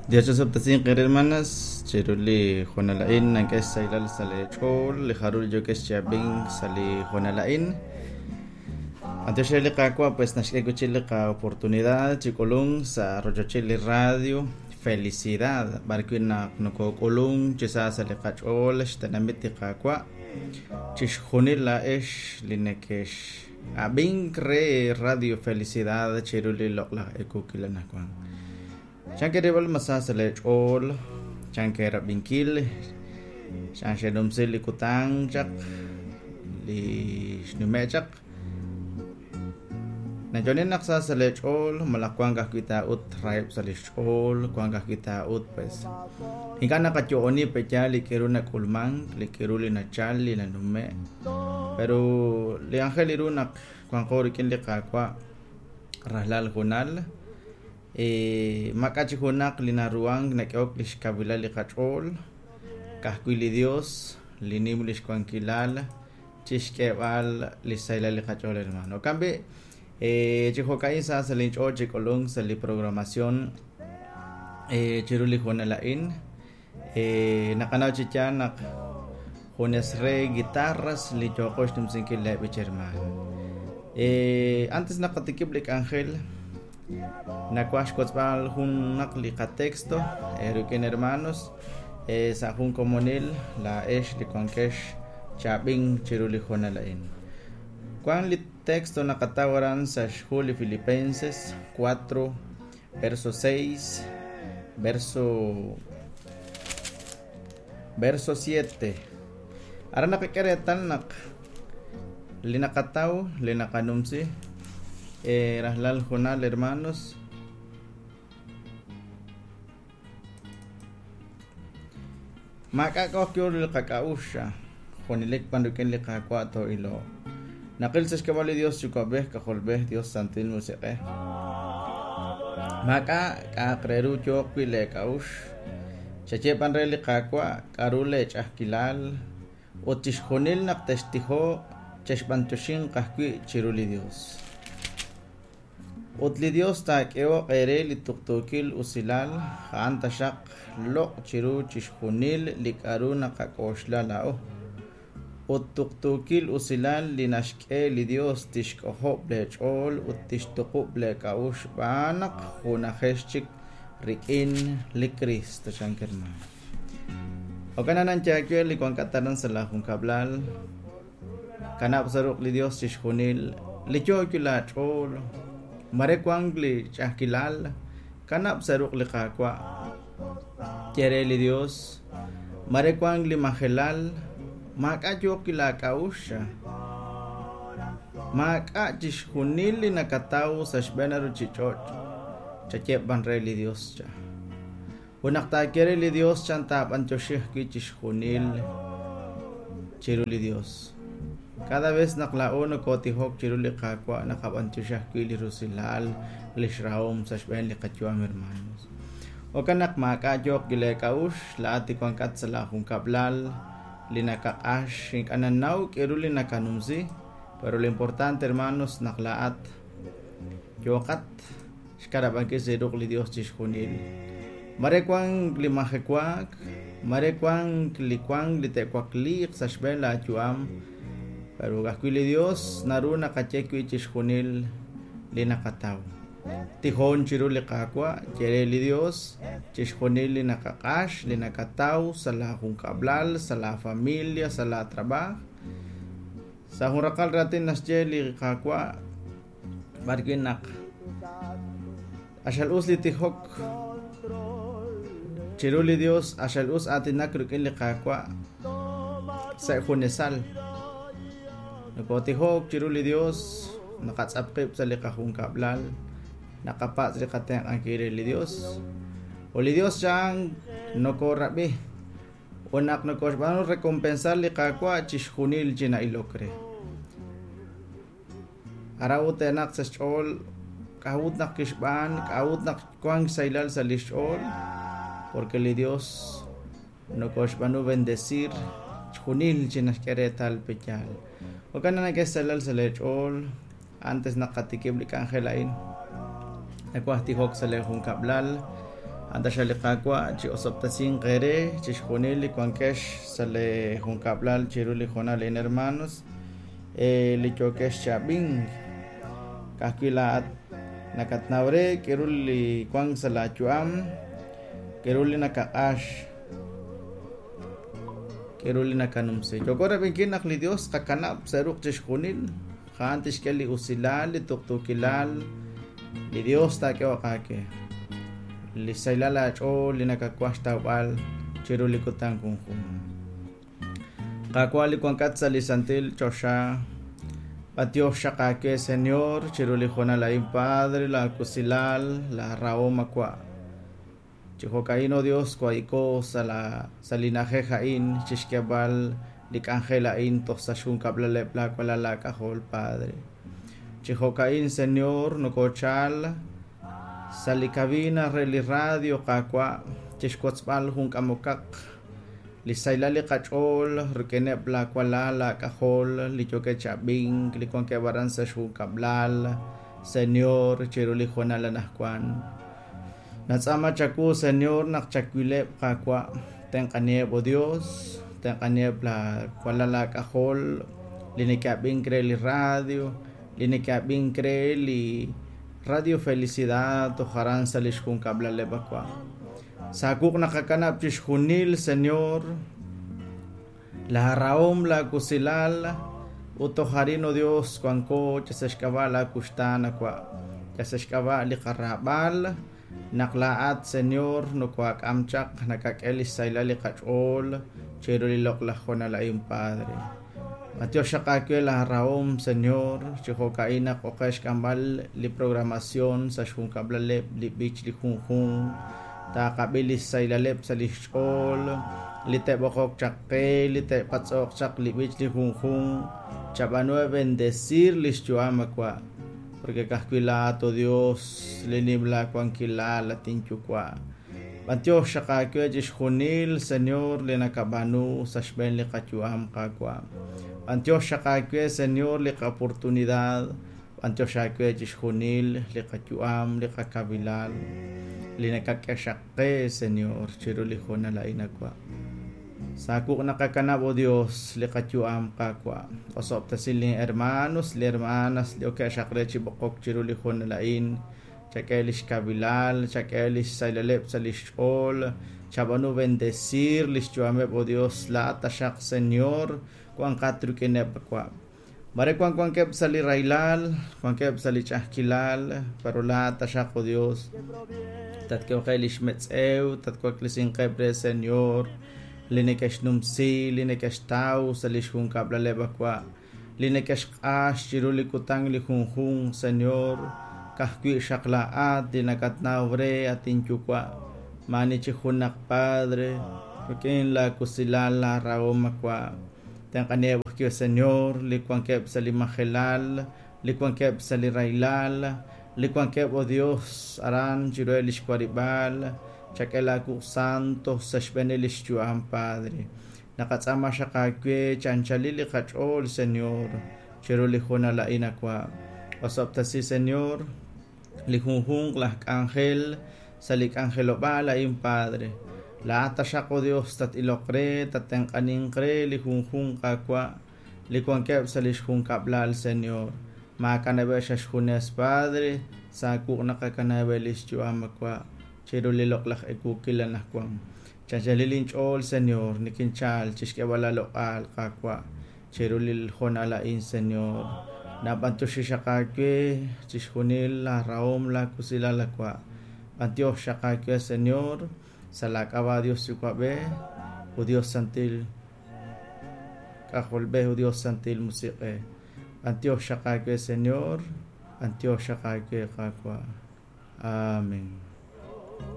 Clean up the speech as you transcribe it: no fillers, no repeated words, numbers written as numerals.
Dios osob'tesinq eere hermanas, chiru li hoonal a'in nank'e xsahilal sa' lee ch'ool li jarul yookex chi ab'ink sa' li hoonal a'in. B'antiox re li Qaawa' pues naxk'e wi' chik li qa'oportunidad chi k'ulunk sa' rochochil li radio Felicidad, b'ar wi' naq nokok'ulunk chi sa sa' li qach'ool xtenamit li Qaawa', chixjunil laa'ex li nekex ab'ink re Radio Felicidad chiru li loq'laj eekukil anajwan. Chan ke'rilb'al ma sa sa' lee ch'ool, chan ke'rab'inkil, chan xe'numsi li kutan chaq, li xnume' chaq. Nayo'len naq sa sa' lee ch'ool, malaj wank ajwi' taa'ut raheb' sa' lix ch'ool, wank ajwi' taa'ut pues ink'a' naqayo'oni pe'yaal li k'a'ru nak'ulmank, li k'a'ru li nachal, li nanume'. Pero li anjel ru naq wanqo rik'in li Qaawa' rajlal junal, Maak'a' chik junaq li naruhank nak'ehok li xkawilal li qach'ool, ka'ajwi' li Yos li nim li xwankilal chi xk'eeb'al li xsahilal li qach'ool hermano. Jo'kan b'i', chi jo'ka'in sa sa' linch'ool chi k'ulunk sa' li programación chiru li hoonal a'in. Naqanaw chi yaal naq junes re guitarras li yooqo xnumsinkil lee b'ich hermano. Antes naqatikib' li k'anjel, nawaj xwotzb'al junaq li qatexto rik'in hermanos sa' jun komonil laa'ex li wankex chaab'in chiru li hoonal a'in. Wan li texto naqataw aran sa' xhu li Filipenses 4 verso 6, verso 7. Aran naqak'e reetal naq li naqataw, li naqanumsi, rajlal junal hermanos, maak'a' k'a'uxl yo li qak'a'uxl, junelik b'an rik'in li Qaawa' too'iloq. Naqil sa' xk'ab'a' li Dios Yuwa'b'ej, K'ajolb'ej, Dios Santil Musiq'ej. Maak'a' k'a'aq re ru yooq wi' lee k'a'uxl. Chaye b'an re li Qaawa' k'a'ru lee ch'a'ajkilal, ut chixjunil naq textijoq, chexb'antioxinq ajwi' chiru li Dios. Ut li Dios taak'ehoq eere li tuqtuukil usilal, a'an taxaq loq' chiru chixjunil li k'a'ru naqak'oxla laa'o. Ut tuqtuukil usilal li naxk'e li Dios tixk'ojob' lee ch'ool ut tixtuqub' lee k'a'uxl xb'aan naq junajex chik rik'in li Kristo, chank hermano. Jo'kan anan yaawe li wankat aran sa' laa junkab'lal, kanab' sa' ruq' li Dios chixjunil li yoo wi' laa ch'ool, mare wank li ch'a'ajkilal, kanab' sa' ruq' li Qaawa'. Ye re li Dios, mare wank li majelal, maak'a' yooq wi' laa k'a'uxl, maak'a' chixjunil li nakataw sa' xb'een a ruchich'och', chaye b'an re li Dios cha. Ut naq taaye re li Dios chan taab'antioxi ajwi' chixjunil chiru li Dios. Cada vez naq laa'o nokotijok chiru li Qaawa' naqab'antioxi ajwi' li rusilal, lix rahom sa' xb'een li qayu'am, hermanos. Jo'kan naq maak'a' yooq wi' lee k'a'uxl, laa'at li wankat sa' laa junkab'lal, li nakaq'ax, ink'a' nanaw k'a'ru li nakanumsi, pero lo importante, hermanos, naq laa'at yooqat xkanab'ankil sa' ruq' li Dios chixjunil. Mare wank li majewaak, mare wank li wank li te'wakliiq sa' xb'een laa yu'am, pero ka'ajwi' li Dios naru naqaye wi' chixjunil li naqataw. Tijon chiru li Qaawa', ye re li Dios chixjunil li naqaq'ax, li nakataw sa' laa junkab'lal, sa' laa familia, sa' laa trabaaj. Sa' jun raqal raatin naxye li Qaawa' b'ar wi' naq q'axal us li tijok chiru li Dios, q'axal us aatinak rik'in li Qaawa' sa' junesal. Nokotijok chiru li Dios, naqatz'ap qib' sa' li qajunkab'lal, naqapatz' li qatenq'ankil re li Dios. Ut li Dios chan nokorab'i ut naq nokoxb'aanu recompensar li Qaawa' chixjunil chi na'ilok re. Aran ut teenaq sa' xch'ool k'a'ut naq kixb'aan, k'a'ut naq wank xsahilal sa' lix ch'ool, porque li Dios nokoxb'aanu bendecir chjunil chi naxk'e reetal pe yaal. Jo'kan naq nak'e xsahilal sa' lee ch'ool antes naq qatikib' li k'anjel a'in. Nawaj tijok sa' lee junkab'lal. A'an taxaq li Qaawa' chi'osob'tesinq eere chixjunil li wankex sa' lee junkab'lal chiru li hoonal a'in, hermanos, li yookex chi ab'ink. Ka'ajwi' laa'at nakatnaw re k'aru li wank sa' laayu'am, k'aru li nakaq'ax, k'aru li nakanumsi. Yooko rab'inkil naq li Dios qakanab' sa' ruq' chixjunil, a'an tixk'e li usilal, li tuqtuukilal, li Dios taak'ehoq aawe. Li xsahilal aach'ool li nakawaj xtawb'al chiru li kutan junjunq. Qaawa' li wankat sa' li santil choxa, b'antiox xaq aawe, Señor, chiru li hoonal a'in, Padre, laawusilal, laarahom awa'. Chi jo'ka'in, oh Dios, wa'iko sa' la sa' li na'ajej a'in chixk'eeb'al li k'anjel a'in toj sa' xjunkab'laleb' laawalal laak'ajol, Padre. Chi jo'ka'in, Señor, nokochal sa' li cabina re li radio, Qaawa', chixwotzb'al jun k'amokaq li xsahilal li qach'ool rik'ineb' laawalal laak'ajol li yookeb' chi ab'ink, li wankeb' aran sa' xjunkab'lal, Señor, chiru li hoonal anaqwan. Natz'aama chawu, Señor, naq chawileb', Qaawa', tenq'aniheb', oh Dios, tenq'aniheb' laawalal laak'ajol li neke'ab'ink re li radio, li neke'ab'ink re li Radio Felicidad toj aran sa' li xjunkab'laleb' awa'. Sa' wuq' naqakanab' chixjunil, Señor, laarahom, laawusilal, ut toj arin, oh Dios, wanko sa' xk'ab'a' laakuxtaan awa', sa' xk'ab'a' li qaraab'al, naq laa'at, Señor, nokoak'am chaq, nakak'e li xsahilal li qach'ool chiru li loq'laj hoonal a'in, Padre. B'antiox xaq aawe laarahom, Señor, chi jo'ka'in naq oqe xk'amb'al li programación sa' xjunkab'laleb' li b'ich li junjunq, taaqab'i li xsahilaleb' sa' li xch'ool, li te'b'oqoq chaq qe, li te'patz'oq chaq li b'ich li junjunq, chab'aanu bendecir li xyu'am awa', porque ka'ajwi' laa'at, oh Dios, li nim laawankilal, at inyuwa'. B'antiox xaq aawe chixjunil, Señor, li nakab'aanu sa' xb'een li qayu'am, Qaawa'. B'antiox xaq aawe, Señor, li qa-oportunidad, b'antiox aawe chixjunil li qayu'am, li qakabilal, li nakak'e xaq qe, Señor, chiru li hoonal a'in awa'. Sa' wuq' naqakanab', oh Dios, li qayu'am, Qaawa'. Osob'tesi li hermanos, li hermanas li okeb' xaq re chi b'oqok chiru li hoonal a'in, chak'e li xkabilal, chak'e li xsahilaleb' sa' li xch'ool, chab'aanu bendecir li xyu'ameb', oh Dios, laa'at taxaq, Señor, wanqat rik'ineb' awa'. Mare wan wankeb' sa' li rahilal, wankeb' sa' li ch'a'ajkilal, pero laa'at taxaq, oh Dios, tatk'ehoqe li xmetz'ew, tatwaklesinqeb' re, Señor, li neke'xnumsi, li neke'xtaw sa' li xjunkab'laleb' awa', li neke'xq'ax chiru li kutan li junjunq, Señor, ka'ajwi' xaq laa'at li nakatnaw re, at inyuwa', maani chi junaq Padre, rik'in laawusilal laarahom awa'. Tenq'aniheb' ajwi', Señor, li wankeb' sa' li majelal, li wankeb' sa' li rahilal, li wankeb', oh Dios, aran chiruheb' li xwarib'aal, chak'e laawuq' santo sa' xb'een li xyu'am, Padre. Naqatz'aama xaq aawe chi anchalil li qach'ool, Señor, chiru li hoonal a'in awa'. Osob'tesi, Señor, li junjunq laj k'anjel sa' li k'anjelob'aal a'in, Padre. Laa'at taxaq, oh Dios, tat-iloq re, tattenq'aninq re li junjunq awa' li wankeb' sa' li xjunkab'lal, Señor. Maakanab'eb' xa xjunes, Padre, sa' wuq' naqakanab'eb' li xyu'am awa' chiru li loq'laj ewuukil anaqwan. Chanchalil inch'ool, Señor, nikinchal chixk'eeb'al aaloq'al, Qaawa', chiru li hoonal a'in, Señor. Nab'antioxi xaq aawe chixjunil laarahom, laawusilal awa'. B'antiox xaq aawe, Señor, sa' laak'ab'a' Dios Yuwa'b'ej, ut Dios Santil K'ajolb'ej, ut Dios Santil Musiq'ej. B'antiox xaq aawe, Señor, b'antiox xaq aawe, Qaawa'. Amén.